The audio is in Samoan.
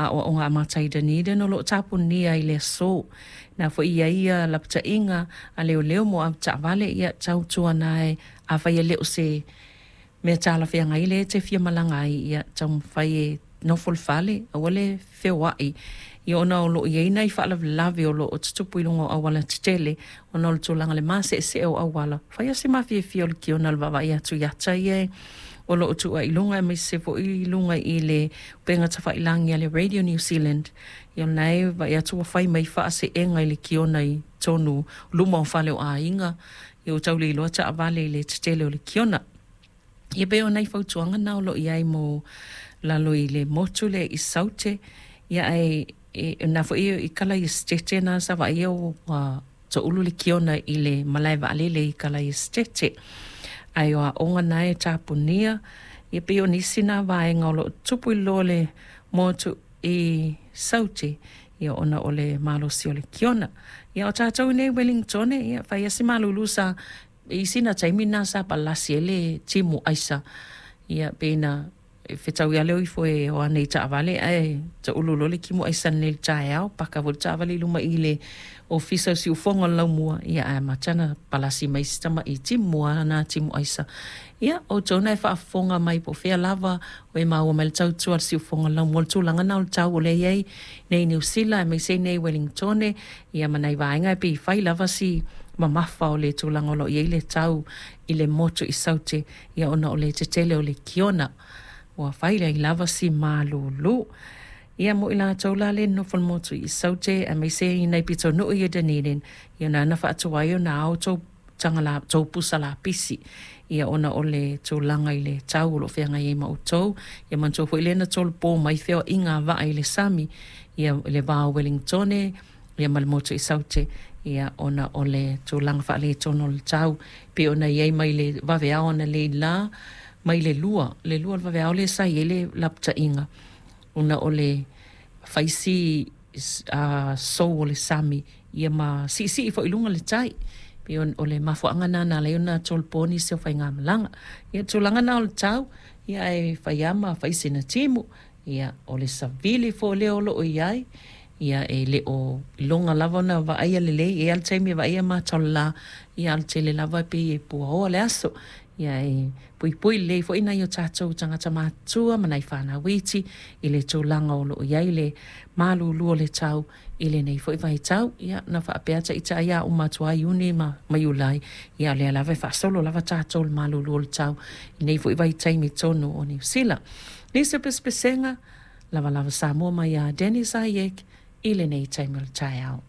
Aoaoga Amata i Dunedin o lo o tapunia i le aso. Na foi i ai ia lapataiga a leoleo mo avetaavale, ia tautuana e afai e le o se mea talafeagai lea e te fia malaga ai, ia taumafai e nofo i le fale, aua le feoai, ia ona o lo o i ai nai faalavelave o lo o tutupu i luga o auala tetele ona o le tulaga i le maseesee o auala. Fai lava si mafiafia o le kiona i le vaavaai atu i ata ia o lo o tuu ai i luga aemaise foi i luga i le upega tafailagi a le Radio New Zealand. Ia o lena e vaai atu ua fai mai faaseega i le kiona i totonu luma o fale o aiga, ia ua tau le iloa taavale i le tetele o le kiona. Ia pei o nai fautuaga na o lo o i ai mo lalo i le motu lea i Saute. Ia ae o lena foi i kala i Esetete na sa vaaia ua toulu le kiona i le malae vaalele i kala i Esetete. Ae o aoga na e tapunia, ia pei o nisi na vaega o lo o tupu i lalo o le motu i Saute, ia ona o le malosi o le kiona. Ia o tatou i nei Wellingtone, ia fai lava si malulu sa i sina taimi lena sa palasi ai le timu aisa, ia pei na fetaui lava le o ifo e o ane i taavale ae taulu loa le timu aisa nei i le taeao, paka foi le taavale i luma i le ofisa o le siufofoga o le laumua, ia ae amata ona palasi mai si tamai timu lava na timu aisa. Ia, o outou na e faafofoga mai po o fea lava o e maua mai le tautua a le siufofoga o le laumua, le tulaga lena o le tau o lea e i ai nei i Niu Sila aemaise i nei i Welingtone, ia ma nai vaega e pei e fai lava si mamafa o le tulaga o lo o i ai le tau i le motu i Saute, ia ona o le tetele o le kiona ua fai ai lava si malulu. Ia mo i latou la le nonofo i le motu i Saute aemaise i nai pitonuu ia Dunedin, ia na ona faatuai ona ao tou taga la, tou pusa lapisi, ia ona o le tulaga i le tau o lo o feagai ai ma outou. Ia manatua foi lea na tolopo mai feoaiga a vaa i le sami, ia i le va o Wellingtone ia ma le motu i Saute, ia ona o le tulaga faaletonu o le tau pei ona i ai mai le vaveao analeila mai le 2, le 2 o le vaveao lea sa i ai le lapataiga ona o le fai si sou o le sami ia ma siisii foi i luga le tai. Pei o le mafuaaga lena na ala ai ona tolopo nisi o faigamalaga. Ia o le tulaga lena o le tau, ia ae fai lava ma fai sina timu, ia o le savili foi lea o lo o i ai, ia e le o iloga lava ona vaaia lelei, e i ai lava le taimi e vaaia mata o le la, ia a o le tele lava e pei e puaoa le aso. Ia e puipui lelei foi nai o tatou tagata matutua ma nai fanau iti i le tulaga o lo o i ai le malulu o le tau i lenei foi vaitau. Ia na faapea ita ai a uma atu lava Iuni ma Iulai, ia o lea lava e faasolo lava tatou i le malulu o le tau i lenei foi vaitaimi i totonu o Niu Sila. Nisi o pesepesega, lavalava Samoa mai ia Dennis Ayek i lenei taimi o le taeao.